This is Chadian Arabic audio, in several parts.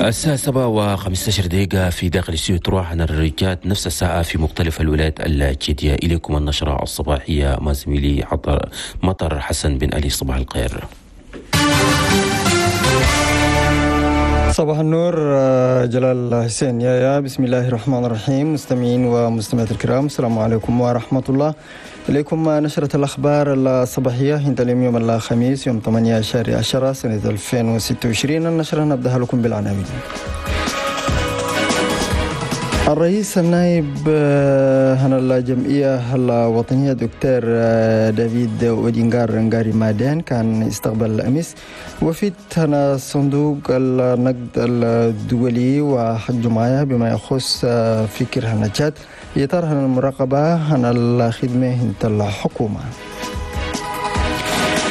الساعة 7:15 في داخل استوديو تروح عن الرجال، نفس الساعة في مختلف الولايات التشادية. إليكم النشرة الصباحية مع زميلي مطر حسن بن علي. صباح الخير. صباح النور جلال حسين. يا بسم الله الرحمن الرحيم. مستمعين ومستمعات الكرام، السلام عليكم ورحمة الله. إليكم نشرة الأخبار الصباحية عند اليوم يوم الخميس يوم 8 شهر 10 سنة 2026. النشرة نبدأها لكم بالعناوين. الرئيس النائب هنا الجمعية الوطنية دكتور دافيد أودينغار نغاري مادين كان استقبل أمس وفد هنا صندوق النقد الدولي وحج معايا بما يخص فكر هنا تشاد إطار هنا المراقبة هنا الخدمة هنا الحكومة.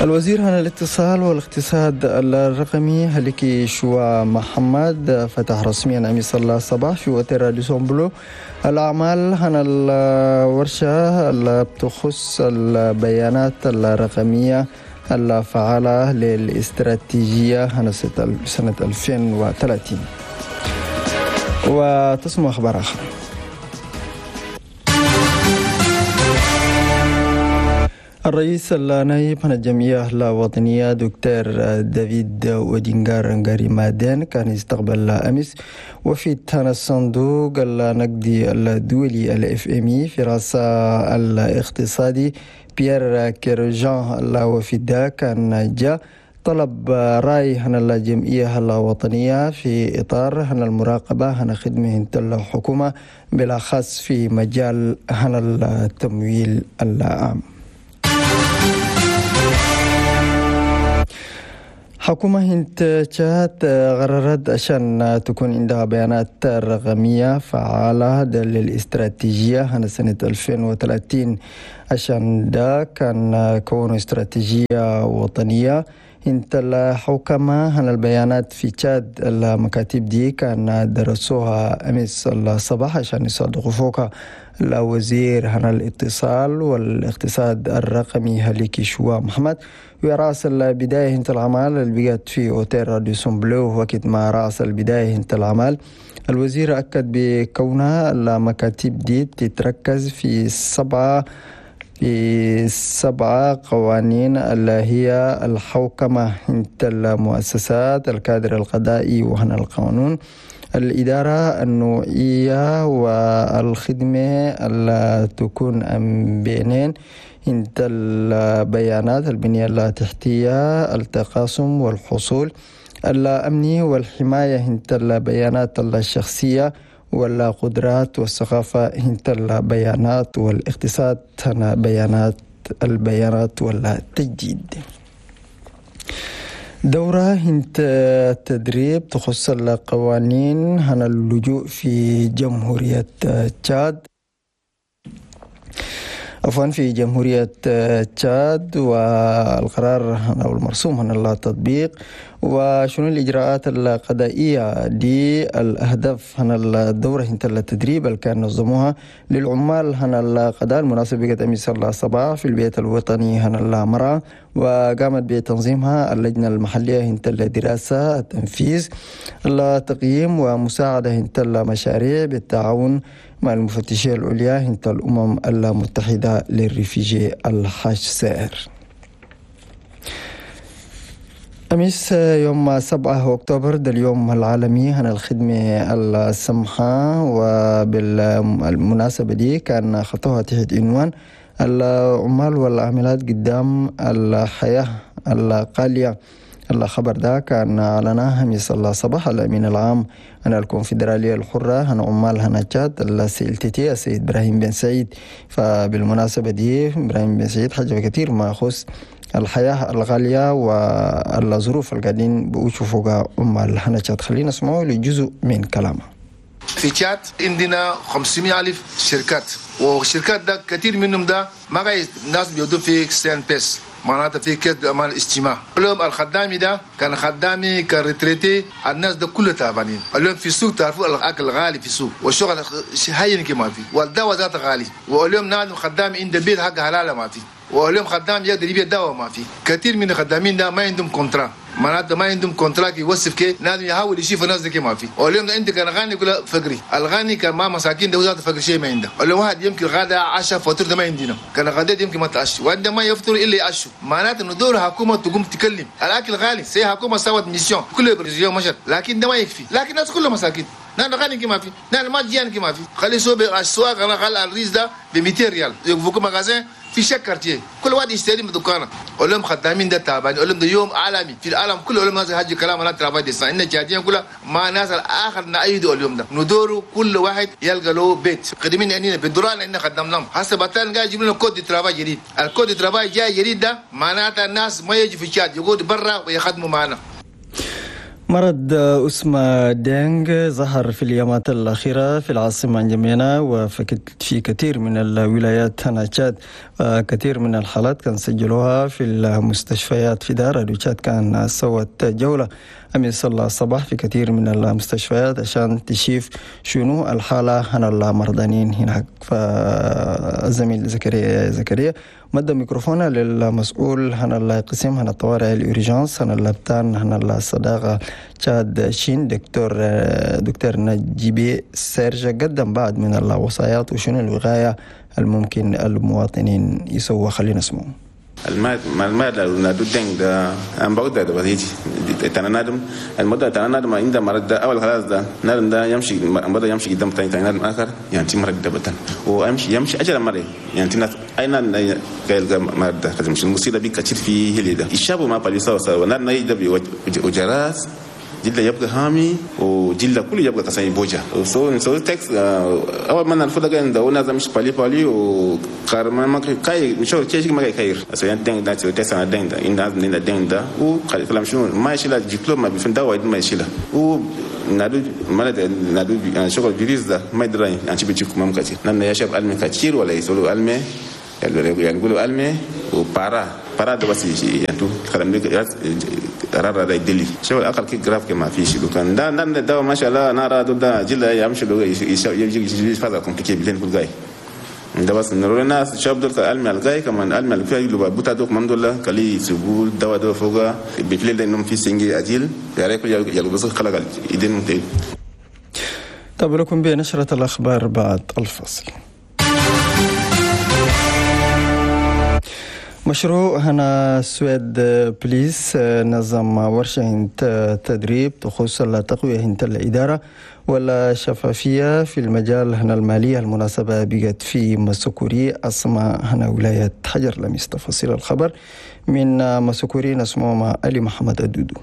الوزير هنا الاتصال والاقتصاد الرقمي هلكي شوا محمد فتح رسميا أمس الصباح في أوتيل راديسون بلو الأعمال هنا الورشة اللي بتخص البيانات الرقمية الفعالة للاستراتيجية هنا سنة 2030. وتسمع أخبار آخر. الرئيس النائب عن الجمعية الوطنية دكتور دافيد أودينغار نغاري مادين كان يستقبل أمس وفد الصندوق النقدي الدولي ال FMI في رأس الاقتصادي بيير كيرجان. الوفد كان جاء طلب رأي هنا الجمعية الوطنية في إطار هنا المراقبة هنا خدمة الحكومة بالأخص في مجال هنا التمويل العام. حكومة هند تشاد قررت عشان تكون عندها بيانات رقمية فعالة للاستراتيجية هنا سنة 2030. عشان ده كان كون استراتيجية وطنية انت الحكومة هنا البيانات في تشاد. المكاتب دي كان درسوها أمس الصباح عشان يصادقوا فوقها الوزير هنا الاتصال والاقتصاد الرقمي هليكي شوا محمد. ورأس البداية هنت العمل اللي بقت في أوتيل راديسون بلو وقت ما رأس البداية هنت العمل الوزير أكد بكونها المكاتب دي تتركز في 7 قوانين اللي هي الحوكمة انت المؤسسات، الكادر القضائي وهنا القانون، الإدارة النوعية والخدمة اللي تكون بينين انت البيانات، البنية التحتية، التقاسم والحصول الأمني والحماية انت البيانات الشخصية والقدرات والثقافة انت البيانات والاقتصاد بيانات البيانات والتجديد. دورة انت تدريب تخص القوانين هنا اللجوء في جمهورية تشاد، عفوا في جمهورية تشاد، والقرار أو المرسوم هنا التطبيق وشنو الإجراءات القضائية دي. الأهداف هنا الدورة هنا التدريب اللي كان نظموها للعمال هنا القضاء المناسبة بقت أمس الصباح في البيت الوطني هنا المرأة، وقامت بتنظيمها اللجنة المحلية هنا الدراسة التنفيذ التقييم ومساعدة هنا المشاريع بالتعاون مع المفتشية العليا هنا الأمم المتحدة للريفيجي الحاج سائر. أمس يوم 7 أكتوبر ده اليوم العالمي هنا الخدمة السمحة، وبالمناسبة دي كان خطوها تحت عنوان العمال والعاملات قدام الحياة القالية. الخبر ده كان أعلناه أمس الصباح الأمين العام أنا الكونفدرالية الحرة هنا عمال هنا تشاد الCLTT السيد إبراهيم بن سعيد. فبالمناسبة دي إبراهيم بن سعيد حاجة كثير ما يخص الحياة الغالية والظروف اللي قاعدين بيشوفوها عمال هنا تشاد. خلينا نسمعوا لجزء من كلامه. في تشاد عندنا 500,000 شركات، والشركات ده كثير منهم ده ما قاعد الناس بيودوا في CNPS، معناتها في كيس امان الاجتماع. اليوم الخدامي ده كان خدامي كان retraité، الناس ده كله تعبانين. اليوم في السوق تعرفوا الاكل غالي في السوق والشغل هين كما في، والدواء ذاته غالي. واليوم نادم خدامي عند بيت حق حلاله ما في، واليوم خدام يقدر يبيع دواء ما في. كثير من الخدامين ده ما عندهم contrat. معناته ما عندهم contrat يوصف كي لازم يحاول يشوف الناس دي ما في. واليوم ده انت كان غني كله فقري، الغني كان ما مساكين ده وزاد فقر شيء ما عنده. واليوم واحد يمكن غدا عشاء فطور ده ما عندنا، كان غدا يمكن ما تعشوا وعندما ما يفطر الا يعشوا. معناته انه دور حكومة تقوم تكلم الاكل غالي، سي حكومة سوت mission كل يوم مشت، لكن ده ما يكفي، لكن الناس كلها مساكين. نحن غني كما في، نحن ما جيان كما في، خلي سوق السواق انا غال الريز ده ب 200 ريال، يوقفوك magasin في chaque quartier، كل واحد يشتري من دكانه. اقول خدامين ده تعبان، اقول ده يوم عالمي في العالم كله، اقول ناس حاجة كلام انا travail décent، ان جادين كلها ما ناس الاخر نأيدوا اليوم ده، ندوروا كل واحد يلقى له بيت، خدمين عندنا بالدوران عندنا خدمناهم، هسه بطل قاعد يجيب لنا code de travail جديد، ال code de travail جاي جديد ده معناته الناس ما يجي في تشاد، يقعدوا برا ويخدموا معنا. مرض أسمى دينغ ظهر في الأيامات الأخيرة في العاصمة نجمينا وفي كثير من الولايات هنا تشاد، كثير من الحالات كان سجلوها في المستشفيات في دار تشاد. كان سوت جولة أمس الصباح في كثير من المستشفيات عشان تشوف شنو الحالة هنا المرضانين هناك. فالزميل زكريا مد ميكروفون للمسؤول هنا القسم هنا الطوارئ ال urgence هنا اللبتان هنا الصداقة تشاد شين دكتور نجيبي سيرجا، قدم بعض من الوصايات وشنو الوقاية الممكن المواطنين يسووا. خلينا نسمعه. المال نادو دينغ ده أم بعود ده بس يجي تنادم المدة تنادم عند مرض ده أول خلاص ده نادم ده يمشي بدأ يمشي قدام تاني تنادم آخر يعني مرض ده بتن وأمشي يمشي أجل مرة يعني تناس أين قال مرض ده خلاص مش المصيبة بيك كتير في هلي ده الشاب ما باليسا سوا نادم يجي ده وجراس جلد يبقى هامي وجلد كله يبقى كساني بوجا سو تكس أول ما نرفض كان ده ونازم مش بالي وكارما ما كاي مش هو كيش ما كاير أصلا دين ده تكس أنا دين ده إن ده دين ده وكلام شنو ما يشيله جيكلو ما بيفهم ده وايد ما يشيله و نادو ما نادو شغل فيروس ده ما يدري يعني شو بيجيكم ما كتير نحن يشرب ألمي كتير ولا يسولو ألمي يعني يقولوا ألمي وبارا بارا ده بس يعني تو كلام ده رارا ده يدلي شو الأقل كي جراف كما في شيء كان ده ده ده ما شاء الله نارا ده جل يمشي لو يجي فازا كومبليكي بلين كل جاي ده بس نروح الناس شاب دول ألمي الجاي كمان ألمي الفيا لو بوتا دوك من دول كلي سبول دوا دوا فوقا بفليل إنهم في سنجي أجيل ياريك يلو بس خلاص يدين متى. طب لكم بنشرة الأخبار بعد الفصل. مشروع هنا سويد بليس نظم ورشة تدريب تخص التقوية هنت الإدارة ولا شفافية في المجال هنا المالية. المناسبة بقت في مسكوري أسماء هنا ولاية حجر لميس. تفاصيل الخبر من مسكوري نسمع مع علي محمد الدودو.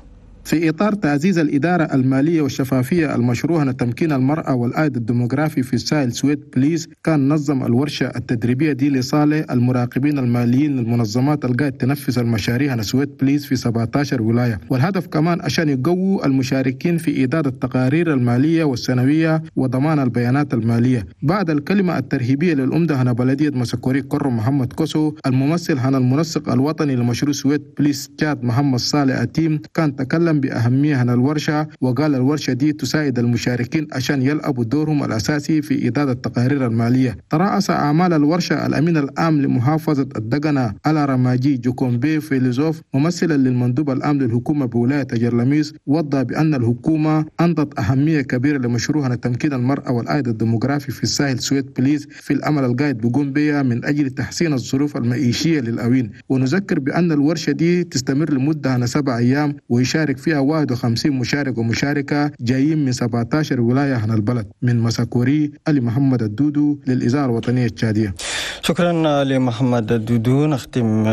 في إطار تعزيز الإدارة المالية والشفافية المشروع لتمكين المرأة والعائد الديموغرافي في الساحل سويد بليز، كان نظم الورشة التدريبية دي لصالح المراقبين الماليين للمنظمات القاعدة تنفذ المشاريع على سويد بليز في 17 ولاية، والهدف كمان عشان يقووا المشاركين في إعداد التقارير المالية والسنوية وضمان البيانات المالية. بعد الكلمة الترحيبية للأمدة هنا بلدية مسكوري كرم محمد كوسو، الممثل هنا المنسق الوطني لمشروع سويد بليز تشاد محمد صالح أتيم، كان تكلم بأهمية عن الورشة، وقال الورشة دي تساعد المشاركين عشان يلعبوا دورهم الأساسي في إعداد التقارير المالية. ترأس أعمال الورشة الأمين العام لمحافظة الدقنة على رماجي جوكومبي فيليزوف، ممثلا للمندوب العام للحكومة بولاية جرلميس، وضح بأن الحكومة أنطت أهمية كبيرة لمشروع تمكين المرأة والعائد الديموغرافي في الساحل سويد بليز في الأمل القائد بقوم بها من أجل تحسين الظروف المعيشية للأوين. ونذكر بأن الورشة دي تستمر لمدة 7 أيام ويشارك فيها 51 مشارك ومشاركة جايين من 17 ولاية عن البلد. من مساكوري علي محمد الدودو للإذاعة الوطنية التشادية. شكرا لمحمد الدودو. نختم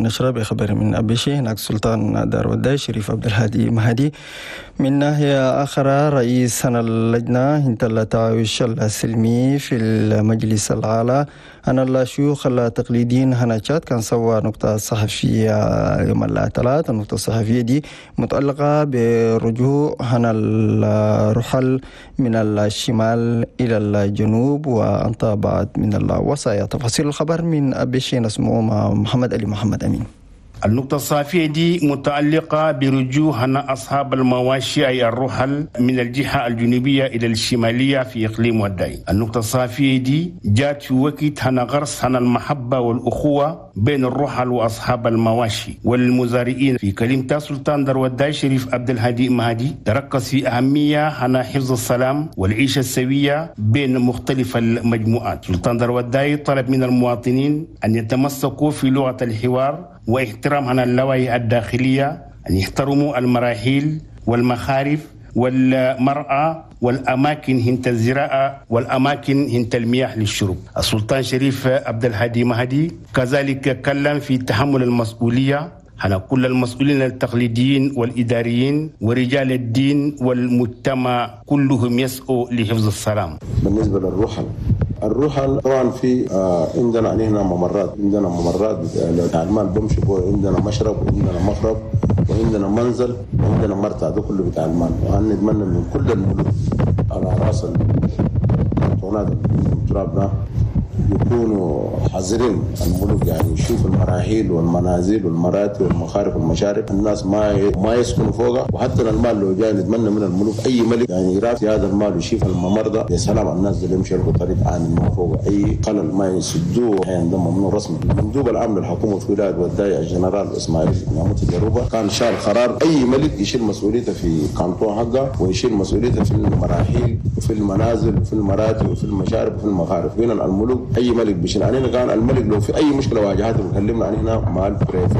نشرة بخبر من أبيشي. هناك سلطان دار وداي شريف عبد الهادي مهدي. من ناحية أخرى رئيس اللجنة انت التعايش السلمي في المجلس الأعلى أنا الشيوخ التقليديين هنا تشاد كان سوى نقطة صحفية يوم الثلاثاء. النقطة الصحفية دي متعلقة برجوع هنا الرحل من الشمال إلى الجنوب وأنت بعد من الوصايا. تفاصيل الخبر من أبيشي نسمعه مع محمد علي محمد أمين. النقطة الصافية دي متعلقة برجوع أصحاب المواشي أي الرحل من الجهة الجنوبية إلى الشمالية في إقليم وداي. النقطة الصافية دي جات في وقت هنا غرس هنا المحبة والأخوة بين الرحل وأصحاب المواشي والمزارعين. في كلمة سلطان دروداي شريف عبد الهادي مهدي تركز في أهمية على حفظ السلام والعيشة السوية بين مختلف المجموعات. سلطان دروداي طلب من المواطنين أن يتمسكوا في لغة الحوار واحترام على اللوائح الداخلية، أن يحترموا المراحيل والمخارف والمرأة والأماكن هنت الزراعة والأماكن هنت المياه للشرب. السلطان شريف عبد الهادي مهدي كذلك كلم في تحمل المسؤولية على كل المسؤولين التقليديين والإداريين ورجال الدين والمجتمع، كلهم يسعوا لحفظ السلام. بالنسبة للرحل، الرحل طبعا في عندنا هنا ممرات، عندنا ممرات بتاع المال بمشي، عندنا مشرب وعندنا مخرب وعندنا منزل وعندنا مرتع، ده كله بتاع المال. وأنا نتمنى من كل الملوك على راس الكرتونات التراب ده يكونوا حذرين الملوك، يعني يشوفوا المراحيل والمنازل والمراتي والمخارف والمشارب، الناس ما يسكنوا فوقها. وحتى المال لو جاي نتمنى من الملوك اي ملك يعني يرافي هذا المال ويشوف الممر ده، يا سلام على الناس اللي يمشوا يلقوا طريق عام ما فوق اي خلل ما يسدوه. يعني ده ممنوع رسمي. المندوب العام للحكومة في ولاية وداي الجنرال اسماعيل نعمت الجروبه كان شال قرار اي ملك يشيل مسؤوليته في كانتون حقه ويشيل مسؤوليته في المراحيل وفي المنازل وفي المراتي وفي المشارب وفي المخارف. هنا الملوك اي ملك بيشيل علينا. كان الملك لو في اي مشكلة واجهته بيكلمنا عن هنا مع ال préfet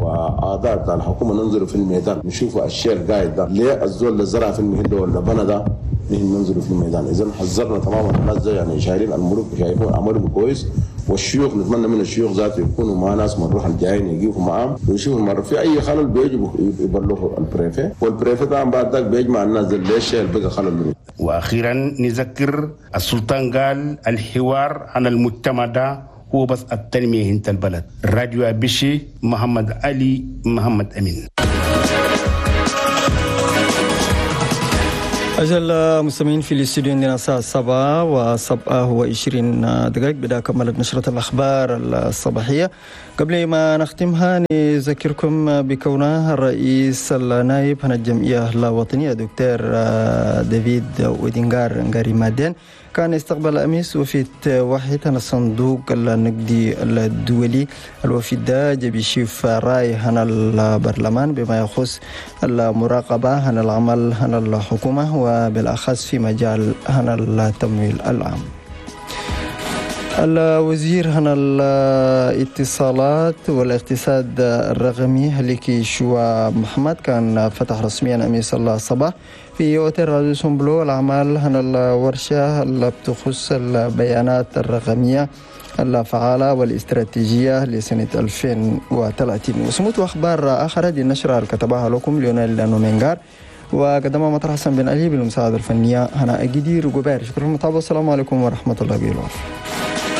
واعضاء بتاع الحكومة، ننزلوا في الميدان نشوفوا الشيء القايد ده ليه الزول اللي زرع في المهل ولا بنى ده، نحن ننزلوا في الميدان. اذا حذرنا تماما الناس ده، يعني شايلين الملوك شايفين عملهم كويس، والشيوخ نتمنى من الشيوخ ذاته يكونوا مع ناس من الروح الجايين يقفوا معاهم ويشوفوا مرة في اي خلل بيجوا يبلغوا ال préfet، وال préfet طبعا بعد ذاك بيجمع الناس اللي الشيء اللي بقى خلل. واخيرا نذكر السلطان قال الحوار عن المجتمع ده هو بس التنمية انت البلد. راديو أبيشي، محمد علي محمد امين. أجل مستمعين في الاستوديو عندنا الساعة 7:27 بدأ كملت نشرة الأخبار الصباحية. قبل ما نختمها نذكركم بكونه الرئيس النائب عن الجمعية الوطنية دكتور ديفيد ويدنغار نغاري مادين كان استقبل أمس وفد واحد عن الصندوق النقدي الدولي. الوفد ده بيشوف رأي عن البرلمان بما يخص المراقبة عن العمل عن الحكومة وبالأخص في مجال عن التمويل العام. الوزير عن الاتصالات والاقتصاد الرقمي هليكي شوا محمد كان فتح رسميا أمس الصباح في أوتيل راديسون بلو الأعمال عن الورشة اللي بتخص البيانات الرقمية الفعالة والاستراتيجية لسنة 2030. وسموت أخبار آخرى دي النشرة اللي كتبها لكم ليونيل نومينغار وقدمها مطر حسن بن علي بالمساعدة الفنية هنا أجدير جبار. شكرا للمتابعة. السلام عليكم ورحمة الله وبركاته.